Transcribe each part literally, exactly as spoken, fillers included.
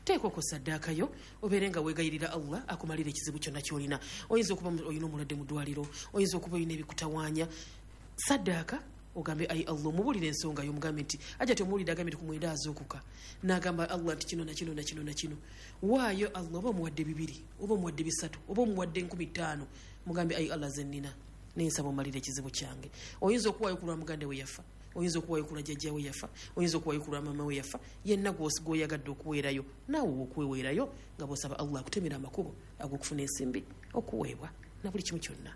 Teekako saddaaka yo, obeere nga weegayirira Allah akumalira ekizibu kyonna ky'olina. Oyinza okuba olina omulwadde mu ddwaliro, oyinza okuba olina ebikutawaanya. Saddaaka ogambe ayi Allah, omubuulire ensonga yo, omugambe nti ajja temuwulire, agambe nti ku mwenda azuukuka n'agamba Allah nti kino na kino na kino na kino. Waayo Allah, oba omuwadde bibiri, oba omuwadde bisatu, oba omuwadde enkumi ttaano, mugambe ayi Allah ze nnina naye nsaba omalire ekizibu kyange. Oyinza okuwaayo ku lwa muganda we yafa, oyinza okuwaayo ku lwa jjajja we yafa, oyinza okuwaayo ku lwa maama we yafa, yenna gw'oyagadde okuweerayo naawe okweweerayo nga bw'osaba Allah akutemera amakubo ag'okufuna ensimbi, okuweebwa na buli kimu kyonna.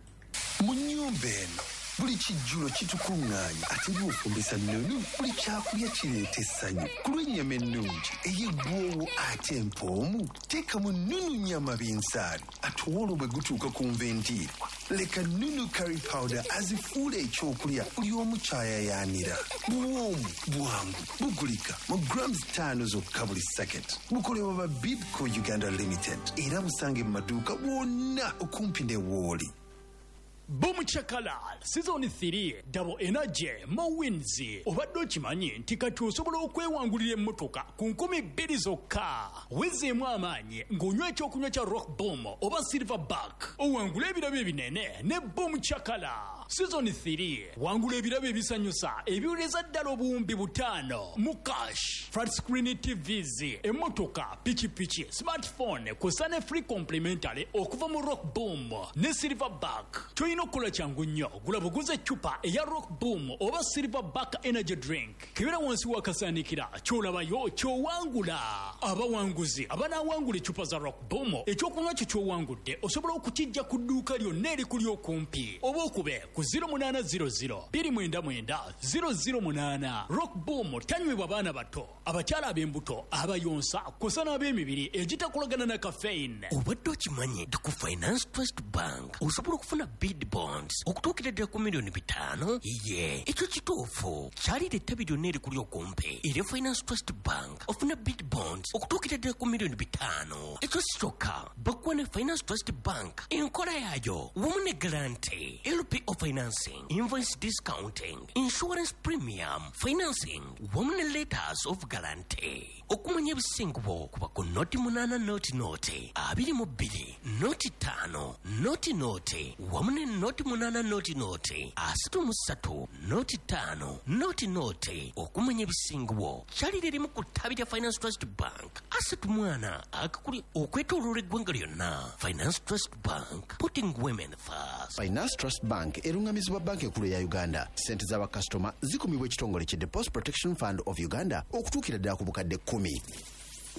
Mu nnyumba eno buli kijjulo kitukuŋŋaanya, ate bw'ofumbisa nnunu buli kyakulya kireeta essanyu. Ku lw'ennyama ennungi ey'eggwoowo ate empoomu, teekamu Nunu nyama binsaali. Ate olwo bwe gutuuka ku nva endiirwa, leka Nunu curry powder azifuula ekyokulya buli omu kyayayaanira. Buwoomu, bwangu, bugulika mu grams ttaano zokka buli packet. Bukolebwa ba Bidco Uganda Limited era busange mu maduuka wonna okumpi ne wooli. Boom Chakala Season three, Double Energy, More Wins. Obadde okimanyi nti kati osobola okwewangulira emmotoka ku nkumi bbiri zokka? Wezeemu amaanyi ng'onywa ekyokunywa kya Rock Boom oba Silver Back, owangule ebirabo ebinene ne Boom Chakala Season three. Wangula ebirabo ebisanyusa ebiwereza ddala obuwumbi butaano mu cash, flat screen T Vs, emmotoka, pikipiki, smartphone kw'ossa ne free complimentary okuva mu Rock Boom ne Silver Back. Kyolina okukola kyangu nnyo, gula buguza eccupa eya Rock Boom oba Silver Back energy drink, kebera wansi w'akasaanikira, ky'olabayo ky'owangula. Abawanguzi abanaawangula eccupa za Rock Boom, ekyokunywa kyo ky'owangudde osobola okukijja ku dduuka lyonna erikuli okumpi oba okube ku zero munaana zero zero two nine nine zero zero eight. Rock Boom tanywebwa baana bato, abakyala ab'embuto, abayonsa kw'ossa n'ab'emibiri egitakolagana na caffeine. Obadde okimanyi nti ku Finance Trust Bank osobola okufuna bid bonds okutuukira ddala ku miliyoni bitaano? Ye, ekyo kituufu. Kyalira ettabi lyonna erikuli okumpi era Finance Trust Bank ofuna bid bonds okutuukira ddala ku miliyoni bitaano. Ekyo si kyokka, bakuwa ne Finance Trust Bank enkola yaayo wamu ne guarantee, L P O financing, invoice discounting, insurance premium financing wamu ne letters of guarantee. Okumanya ebisingubo kuba ku noti munaana noti noti abiri mu bbiri noti ttaano noti noti wamu ne noti munaana noti noti asatu mu ssatu noti ttaano noti noti. Okumanya ebisingubo kyalira erimu ku ttabi lya Finance Trust Bank asatu mwana akakuli okwetooloola eggwanga lyonna. Finance Trust Bank, putting women first. Finance Trust Bank erungamizibwa Banka Enkulu eya Uganda. Sente z'abakasitoma zikumibwa ekitongole ki Deposit Protection Fund of Uganda okutuukira ddala ku bukadde kkumi.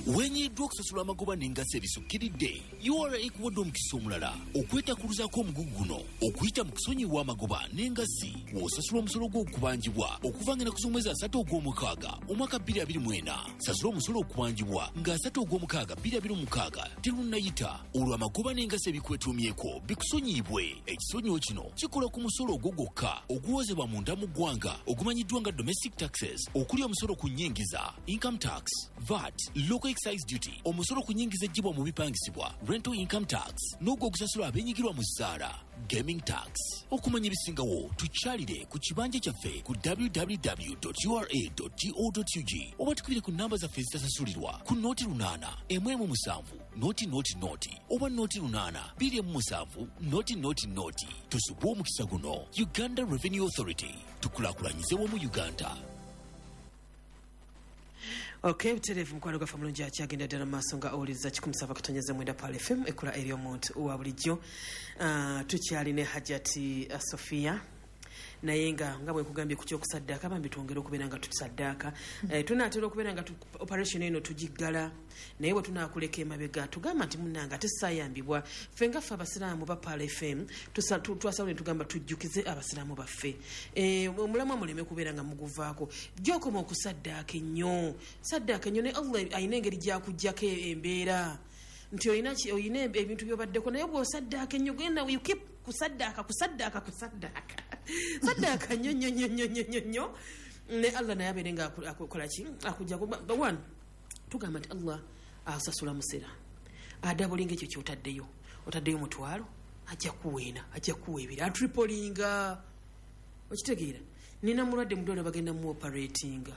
Wenyiddwa okusasula amagoba n'engassi ebisukkiridde? U R A ekuwadde omukisa omulala okwetakuluzaako omugugu guno okuyita mu kusonyiwa amagoba n'engassi w'osasula omusolo gw'okubanjibwa okuva nga ennaku z'omwezi asatu ogw'omukaaga omwaka bbiri abiri mu ena. Sasula omusolo okubanjibwa nga asatu ogw'omukaaga bbiri abiri mu mukaaga terunnayita, olwo amagoba n'engassi ebikwetuumyeko bikusonyiibwe. Ekisonyiwo kino kikola ku musolo ogwo gwokka oguwozebwa munda mu ggwanga ogumanyiddwa nga domestic taxes, okuli omusolo ku nnyingiza, income tax, VAT, local excise duty, omusolo ku nnyingiza eggyibwa mu bipangisibwa, rental income tax, n'ogwo ogusasulwa abeenyigirwa mu zzaala, gaming tax. Okumanya ebisingawo tukyalire ku kibanja kyaffe ku W W W ura go ug oba tukubire ku namba zaffe ezitasasulirwa ku noti lunaana emu emu musanvu noti noti noti oba noti lunaana bbiri emu musanvu noti noti noti. Tusubwe omukisa guno. Uganda Revenue Authority, tukulaakulanyize wamu Uganda. Ok, butereevu. Mukwano gwaffe omulungi akyagenda ddala mu maaso nga owuliriza kikumi saba katonyeza mwenda Pal F M, ekkula ery'omuntu wa bulijjo. Ah, tukyali ne Hajati uh, Sofia, naye nga nga bwe nkugambye ku kyokusaddaaka, bambi twongere okubeera nga tusaddaaka. Eh, tunaatera okubeera nga tu- operation eno tugiggala, naye bwe tunaakuleka emabega tugamba nti munnange ate saayambibwa. Ffe nga ffe abasiraamu ba Pal F M tusa- tu- twasalawo ne tugamba tujjukize abasiraamu baffe. Eh, omulamwa muleme kubeera nga muguvaako. Gyokoma okusaddaaka ennyo, saddaaka ennyo, ne Allah alina engeri gyakuggyako embeera nti olina ki- olina ebintu byobaddeko, naye bw'osaddaaka ennyo, genda you keep kusaddaaka, kusaddaaka, kusaddaaka, saddaaka nnyo nnyo nnyo nnyo nnyo nnyo nnyo, ne Allah naye abeere nga aku- akukola ki, akujjako. Ba- one tugamba nti Allah asasula musera adabulinga ekyo kyotaddeyo. Otaddeyo mutwalo, ajja kuweena, ajja kuwa ebiri, atripolinga. Okitegeera? Nina mulwadde mudwaliro, bagenda mu operatinga,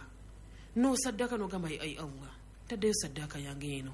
nosaddaaka nogamba, "Ai Allah, ntaddeyo saddaaka yange eno."